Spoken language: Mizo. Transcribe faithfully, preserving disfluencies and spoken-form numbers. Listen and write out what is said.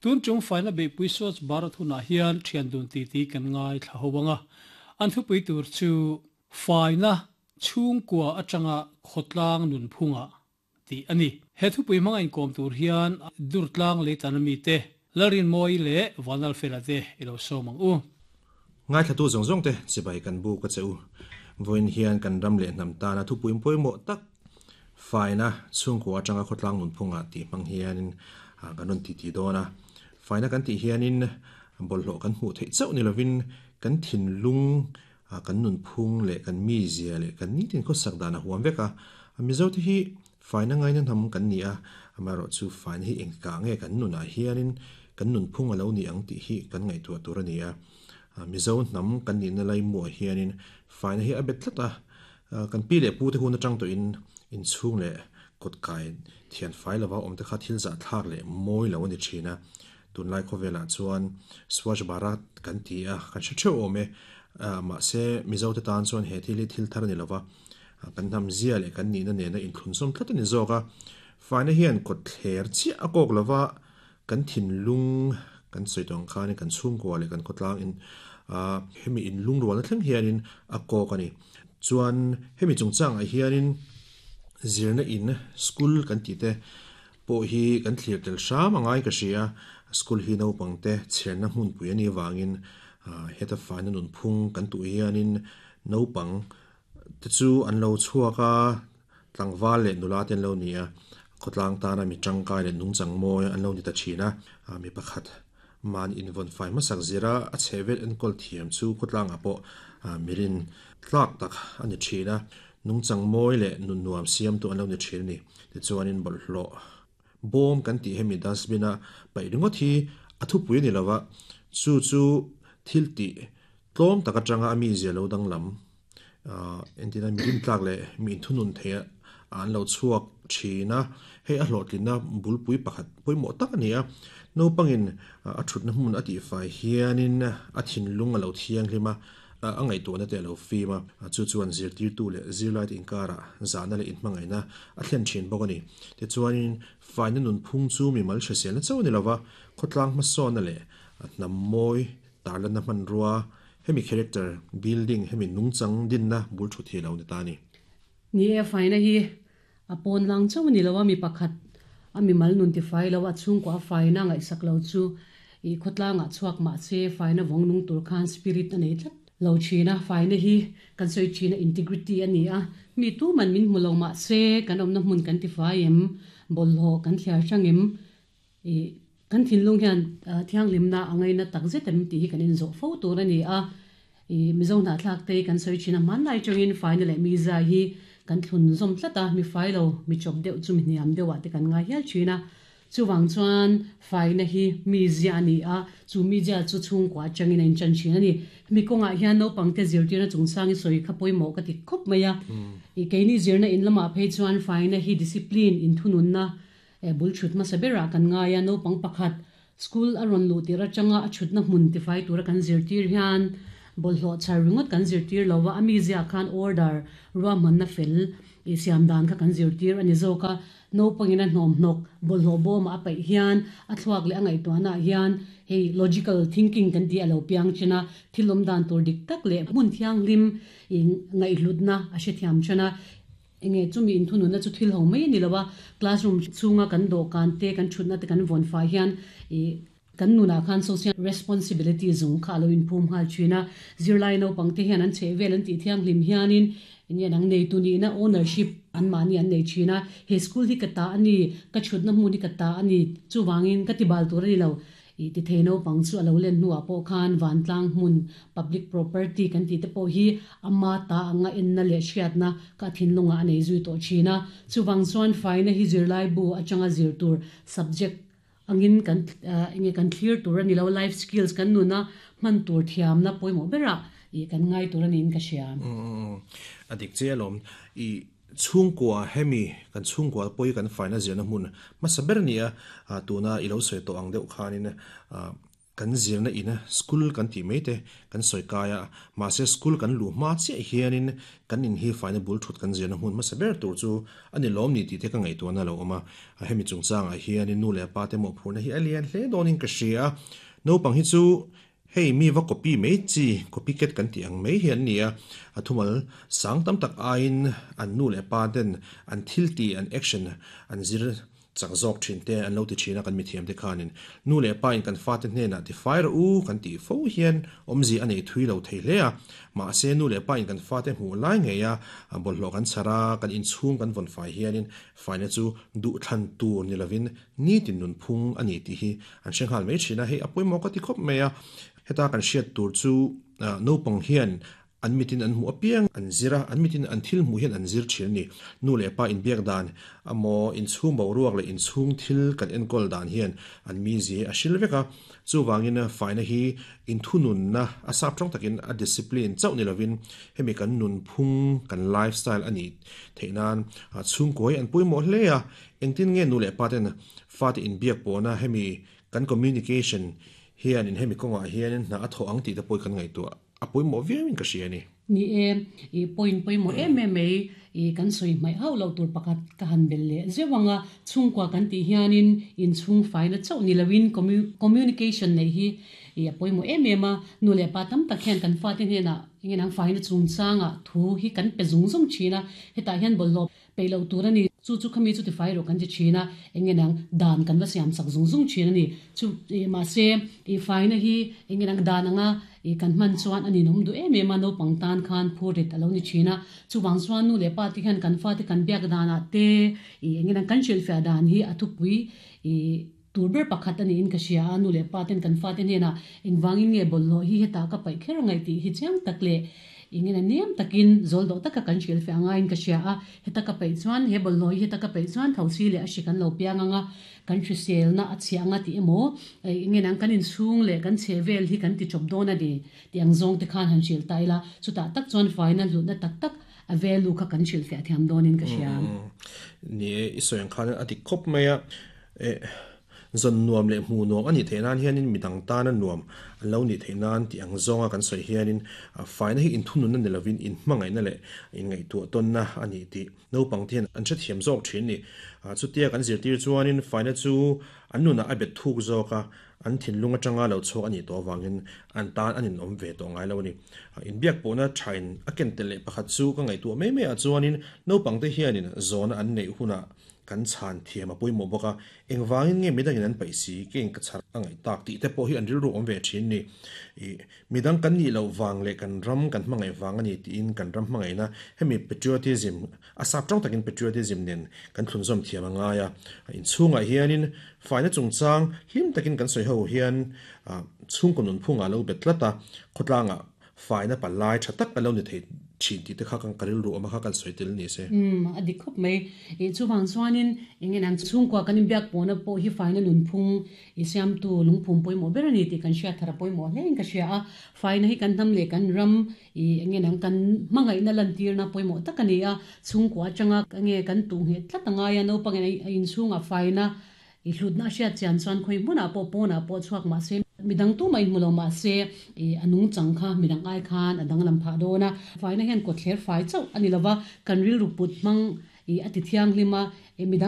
Tun chung faina beihpui Swachh Bharat hunah hian thian dun titi kan ngaithla ho anga, an thupui tur chu Faina chhungkua atanga khawtlang nunphunga tih a ni. He thupui hmanga inkawm tur hian Durtlang Leitan ami te Lalrinmawii leh Vanlalfela te i lo sawm ang u. Ngaithlatu zawng zawng te chibai kan buk a che u. Vawiin hian kan ram leh hnam tana thupui pawimawh tak faina chhungkua atanga khawtlang nunphunga tih hmang hianin kan rawn titi dawn a. Faina kan tih hianin bawlhhlawh kan hmuh theih chauh ni lovin kan thinlung, kan nunphung leh kan mizia leh kan nitin khawsak dan a huam vek a. Mizote hi faina ngaina hnam kan ni a, amaherawhchu faina hi engkah nge kan nunah hianin kan nunphung a lo ni ang tih hi kan ngaihtuah tur a ni a. Mizo hnam kan nihna laimuah hianin faina hi a bet tlat a, kan pi leh pute hun atang tawhin inchhung leh kawtkai thian fai lova awmte kha thil zahthlak leh mawi lo a ni thin a. Tunlai khawvelah chuan Swachh Bharat kan ti a, kan hre theuh awm e. Mahse Mizote tan chuan he thil hi thil thar a ni lova, kan hnam zia leh kan nihna nena inthlunzawm tlat a ni zawk a. Faina hian kawtthler chiah a kawk lova, kan thinlung kan sawi tawh ang khanin kan chhungkua leh kan khawtlang in hemi inlungrualna thleng hianin a kawk a ni. Chuan hemi chungchangah hianin zirna in school kan tih te pawh hi kan thlir tel hram a ngai ka hria. School hi naupangte chherna hmunpui a nih avangin heta faina nunphung kan tuh hianin naupang te chu an lo chhuak a, tlangval leh nula te an lo ni a, khawtlang tana mi tangkai leh nungchang mawi an lo ni ta thin a. Mi pakhat man invawn fai hmasak zira a chhehvel enkawl thiam chu khawtlangah pawh mirin tlak tak a ni thin a, nungchang mawi leh nun nuam siamtu an lo ni thin a ni. Tichuanin bawlhhlawh bawm kan tih hemi dustbin a paih ringawt hi a thupui a ni lova, chu chu thil tih tlawm tak atanga a mizia lo danglam entina mirin tlak leh mi inthunun theih an lo chhuak thin a, hei a hlawhtlinna bulpui pakhat pawimawh tak a ni a. Naupangin a thutna hmun a tihfai hianin a thinlung a lo thianghlim a, a ngaihtuahna te a lo fim a, chu chuan zirtirtu leh zirlaite inkarah zahna leh inhmangaihna a thlen thin bawk a ni. Tichuanin faina nunphung chu mimal hriselna chauh a ni lova, khawtlang hmasawnna leh hnam mawi tarlanna hmanrua, hemi character building, hemi nungchang dinna bul thu thei lo ni ta a ni. Ni e, faina hi a pawn lang chauh a ni lo a, mi pakhat a mimal nun tifai lo a, chhungkua a faina ngaihsak lo chu i khawtlangah chhuak mah se faina vawng nung tur khan spirit a nei tlat lo thin a. Faina hi kan sawi thin a, integrity a ni a, mi tuman min hmu lo mah se kan awmna hmun kan tifai em, bawlhhlawh kan thliar hrang em, i kan thinlung hian thianghlimna a ngaina tak zet em tih hi kan inzawh fo tur a ni a. I Mizo hnahthlak te kan sawi thin a, hmanlai tangin faina leh miza hi kan thlun zawm tlat a, mi fai lo, mi chawp deuh chu mi hniam deuhah te kan ngai hial thin a. Chuvang chuan faina hi mizia a ni a, chu mizia chu chhungkua atangin a inchan thin a ni. Hemi kawngah hian naupangte zirtirna chungchang i sawi kha pawimawh ka ti khawp mai a. I keini zirna in lamah phei chuan faina hi discipline, inthununna bul thut hmasa berah kan ngai a. Naupang pakhat school a rawn luh tir atanga a thutna hmun tifai tura kan zirtir hian bawlhhlawh chhar ringawt kan zirtir lo a, a mizia khan order ruahmanna fel i siam dan kha kan zirtir a ni zawk a. Naupangin a hnawmhnawk bawlhhlawh bawmah a paih hian a thluak leh a ngaihtuahnaah hian hei logical thinking kan tih a lo piang thin a, thil awm dan tur dik tak leh hmun thianghlim i ngaihhlutna a hrethiam thin a. Enge chumi inthununna chu thil ho mai a ni lo a, classroom chhunga kan dawhkan te, kan thutna te kan vawn fai hian i kan nunah khan social responsibility zung kha a lo inphum nghal thin a. Zirlai naupang te hian an chheh vel an tih thianghlim hianin enge an ang neitu nihna ownership an mahni an nei thin a. He school hi ka ta a ni, ka thutna hmun hi ka ta a ni, chuvangin ka ti bal tur a ni lo. I ti thei naupang chu a lo len hnuah pawh khan vantlang hmun public property kan tih te pawh hi ama ta anga enna leh hriatna ka thinlungah a nei zui tawh thin a. Chuvang chuan faina hi zirlai bu atanga zir tur subject angin kan enge kan thlir tur a ni lo, life skills kan nuna hman tur thiamna pawimawh berah i kan ngai tur a niin ka hria. A dik che alawm. I chhungkua hemi kan chhungkua pawh hi kan faina zirna hmun hmasa ber a ni a, tuna i lo sawi tawh ang deuh khanin Kan zirna ina school kan ti mai te kan sawi kai a, mahse school kan luh hma chiah hianin kan in hi faina bul thut kan zirna hmun hmasa ber tur chu a ni lawm ni tih te ka ngaihtuahna a lo awm a. Hemi chungchangah hianin nu leh pa te mawhphurhna hi a lian hle dawnin ka hria a. Naupang hi chu hei mi va copy mai chi, copycat kan tih ang mai hi an ni a. A thumal sang tam tak aiin an nu leh pa ten an thil tih, an action an zir chak zawk thin te an lo ti thin a kan mithiam te khanin nu leh pa in kan fa te hnenah ti fai rawh u kan tih fo hian awmzia a nei thui lo thei hle a. Mahse nu leh pa in kan fa te hmuh lai ngei a, bawlhhlawh kan chhar a, kan inchhung kan vawn fai hianin faina chu duh thlan tur ni lovin nitin nun phung a ni tih hi an hre nghal mai thin a. Hei a pawimawh ka ti khawp mai a. Heta kan hriat tur chu naupang hian an mitin an hmuh apiang an zir a, an mitin an thil hmuh hian an zir thin a ni. Nu leh pa inbiak dan emaw inchhung boruak leh inchhung thil kan enkawl dan hian an mizi a hril vek a. Chuvangin faina hi inthununna a sap tawng takin a discipline chauh ni lovin hemi kan nunphung kan lifestyle a nih theih nan chhungkaw hi an pawimawh hle a. Engtin nge nu leh pa ten fate inbiak pawhna hemi kan communication hian in hemi kawngah hianin hna a thawh ang tih te pawh kan ngaihtuah a pawimawh viauin ka hria a ni. Ni e, i point pawimawh em em mai i kan sawi hmaih hauh loh tur pakhat ka han bel leh zeuh ang a. Chhungkua kan tih hianin inchhung faina chauh ni loin communication neih hi i a pawimawh em em a. Nu leh pa tam tak hian kan fate hnenah engin ang faina chungchangah thu hi kan pe zung zung thin a. Hetah hian bawlhhlawh peih loh tur a ni. Chu chu khami chu tifai rawh kan ti thin a, engin ang dan kan va siam sak zung zung thin a ni. Chu mahse i faina hi engin ang dan anga i kan hman chuan a ninawm duh em em a, naupang tan khan phurrit a lo ni thin a. Chuvang chuan nu leh pa te hian kan fate kan biak danah te i engin ang kan hrilhfiah dan hi a thupui i tur ber pakhat a niin ka hria a. Nu leh pa ten kan fate hnenah engvangin nge bawlhhlawh hi hetah ka paih kher angaih tih hi chiang tak leh engin a nem takin zawl dawh taka kan hrilhfiah angaiin ka hria a. Heta ka paih chuan he bawlhhlawh hi heta ka paih chuan thosi leh a hri kan lo piang anga kan hriselna a chhiah anga tih emaw engin ang kan inchhung leh kan chhe vel hi kan ti chawp dawn a ni tih ang zawng te khan han hrilh ta ila. Chutah tak chuan faina hlutna tak tak a value kha kan hrilhfiah thiam dawnin ka hria. Ni e, i sawi ang khan a dik khawp mai a. Zawn nuam leh hmuh nuam a nih theih nan hianin midang tana nuam an lo nih theih nan tih ang zawnga kan sawi hianin faina hi inthununna ni lovin inhmangaihna leh inngaihtuah tawnna a ni tih naupang te hian an hrethiam zawk thin ni. Chutia kan zirtir chuanin faina chu an nunah a bet thuk zawk a, an thinlung atanga lo chhuak a nih tawh avangin an tan an inawm ve tawh ngai lo a ni. Inbiak pawhna thain a ken tel leh pakhat chu ka ngaihtuah mai mai ah chuanin naupang te hianin zawna an neih hunah kan chhan thiam a pawimawh bawk a. Engvangin nge midangin an paih si keng ka chhar a ngaih tak tih te pawh hi an rilru awm ve thin ni. Midang kan nih loh vang leh kan ram kan hmangaih vang a ni tiin kan ram hmangaihna hemi patriotism a sap tawng takin patriotism nen kan thlunzawm thiam a ngai a. Inchhungah hianin faina chungchang hlim takin kan sawi ho hian chhungkaw nunphungah lo bet tlat a, khawtlangah faina palai tha tak a lo ni thei thin tih te kha kan ka rilru awm a kha kan sawi tel ni se. Um, a dik khawp mai. I chuvang chuanin engin ang chhungkua kan inbiak pawhna pawh hi faina nunphung i siamtu lungphum pawimawh ber a ni tih kan hriat thar a pawimawh hle in ka hria a. Faina hi kan hnam leh kan ram i engin ang kan hmangaihna lantirna pawimawh tak a ni a. Chhungkua atanga nge kan tuh nghet tlat angai a, naupangin a inchhungah faina i hlutna a hriat chian chuan khawi hmunah pawh pawnah pawh chhuak mahse midang tu mah inhmu lo mahse i a nungchang kha midang ai khan a danglam phah dawn a. Faina hian kawtthler fai chauh a ni lova, kan rilru put hmang i a ti thianghlim a, midang